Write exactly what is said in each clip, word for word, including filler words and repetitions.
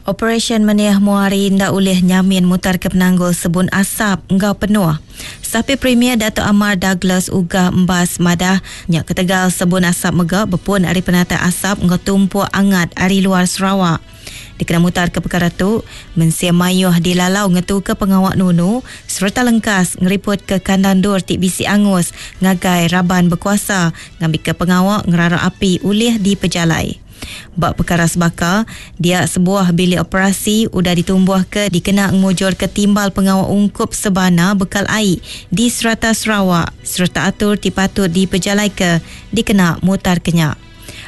Operasyen Meniah Muari enda ulih nyamin mutar ke penanggul sebun asap enggau penuh. Sapit Premier Datuk Amar Douglas Uggah Embas madah, nya ketegal sebun asap mega bepun ari penatai asap enggau tumpuk angat ari luar Sarawak. Dikena mutar ke pekara tu, mensia mayuh dilalau ngetuka pengawa nunu sereta lengkas ngeriput ke kandang endur ti bisi angus ngagai raban bekuasa ngambika pengawa ngerara api ulih dipejalai. Ba pekara sebaka, dia sebuah bilik operasi udah ditumbuhka dikena ngemujurka timbal pengawa ungkup sebana bekal ai di serata Sarawak sereta atur ti patut dipejalaika dikena mutarka nya.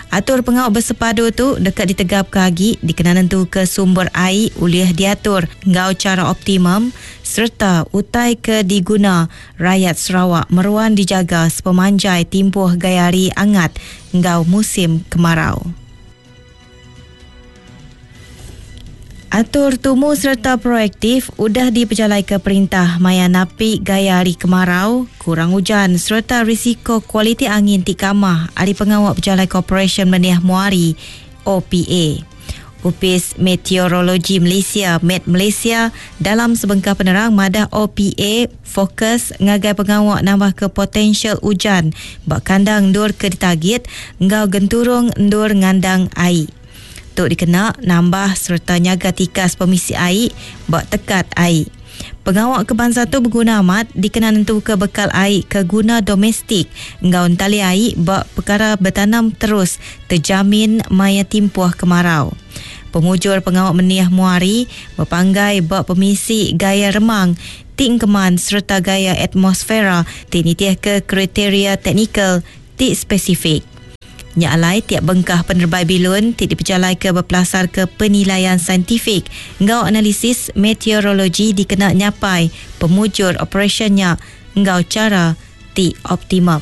Atur pengawa bersepadu tu deka ditegapka agi dikena nentuka sumber ai ulih diatur enggau chara optimum sereta utai ke diguna rayat Sarawak meruan dijaga sepemanjai timpuh gaya hari angat enggau musim kemarau. Atur tumu sereta proaktif udah dipejalaika perintah maya napi gaya hari kemarau, kurang hujan sereta risiko kualiti angin ti kamah ari pengawa pejalai Koperasyen Meniah Muari O P A. Opis Meteorologi Malaysia Met Malaysia dalam sebengkah penerang madah O P A fokus ngagai pengawa nambah ke potensial hujan ba kandang endur ke ditagit enggau genturung endur ngandang ai. Tu dikena nambah sereta nyaga tikas pemisi ai ba tekat ai. Pengawa ke bansa tu berguna amat dikena nentuka bekal ai ke guna domestik enggau entali ai ba perkara bertanam terus terjamin maya timpuh kemarau. Pemujur pengawa Meniah Muari bepanggai ba pemisi gaya remang ti engkeman sereta gaya atmosfera ti nitih ke kriteria teknikal ti spesifik. Nya alai tiap bengkah penerbai bilun ti dipejalai ke bepelasar ke penilaian saintifik enggau analisis meteorologi dikena nyapai pemujur operasinya enggau cara ti optimum.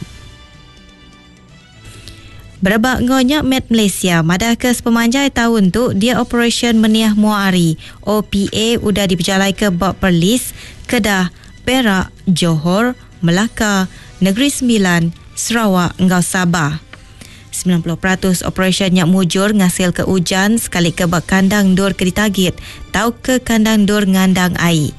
Berebak enggau nya Met Malaysia madah ke sepemanjai tahun tu dia operasyen Meniah Muari O P A udah dipejalai ke ba Perlis, Kedah, Perak, Johor, Melaka, Negeri Sembilan, Sarawak enggau Sabah. sembilan puluh peratus operasyen nya mujur ngasil ke hujan sekali ke ba kandang endur ke ditagit tau ke kandang endur ngandang ai.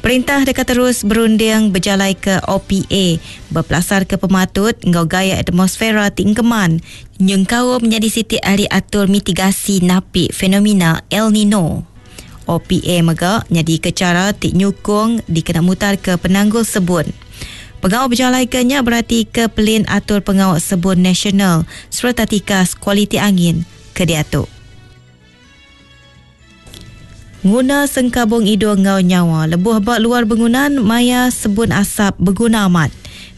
Perintah deka terus berunding berjalai ke O P A berpelasar ke pematut enggau gaya atmosfera ti engkeman nyengkaum menjadi siti ahli atur mitigasi napi fenomena El Nino. O P A mega nyadi ke cara ti nyukung dikena mutar ke penanggul sebun. Pengawal berjalai ke nya berarti ke pelin atur pengawal sebun nasional sereta tikas kualiti angin ke diatu. Nguna sengkabung hidung ngau nyawa lebuh ba luar bangunan maya sebun asap berguna amat.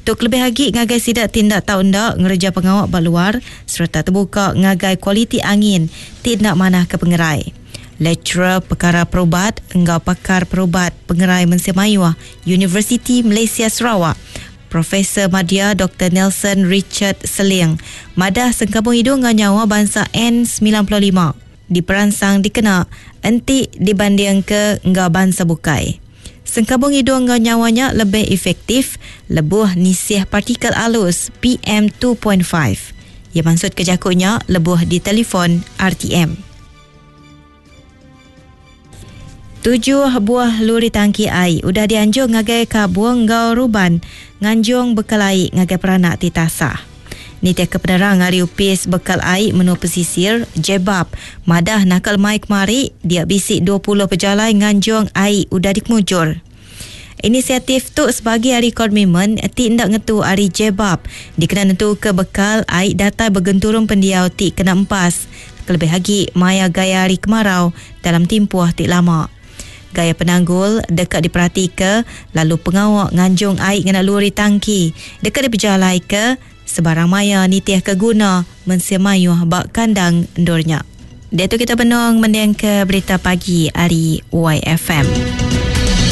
Tuk lebih lagi ngagai sidak tindak tau ndak ngereja pengawal ba luar sereta terbuka ngagai kualiti angin tindak manah ke pengerai. Lecturer Perkara Perubat enggau Pakar Perubat Pengerai Mensia Mayuh Universiti Malaysia Sarawak, Profesor Madya Doktor Nelson Richard Seling, madah sengkabung hidung enggau nyawa bangsa N sembilan puluh lima diperansang dikena enti dibanding ke enggau bangsa bukai. Sengkabung hidung enggau nyawanya lebih efektif lebuh nisih partikel alus P M two point five. Ia maksud kejakunya lebuh di telefon R T M. Tujuh buah lori tangki ai udah dianjung ngagai Kabung enggau Ruban nganjung bekal ai ngagai peranak ti tasah. Nitih ke penerang ari Upis Bekal Ai Menua Pesisir Jebab madah nakal mai kemari dia bisi dua puluh pejalai nganjung ai udah dikemujur. Inisiatif tu sebagai hari komitmen ti ndak ngetu ari Jebab dikena nentu ke bekal ai datai bergenturung pendiau ti kena empas kelebih lagi maya gaya hari kemarau dalam timpuh ti lama. Gaya penanggul dekat diperhati ke lalu pengawak nganjung ai ngena lori tangki dekat dipejalai ke sebarang maya nitih ke guna mensia mayuh bak kandang endurnya. Dia tu kita benung mending ke berita pagi ari Y F M.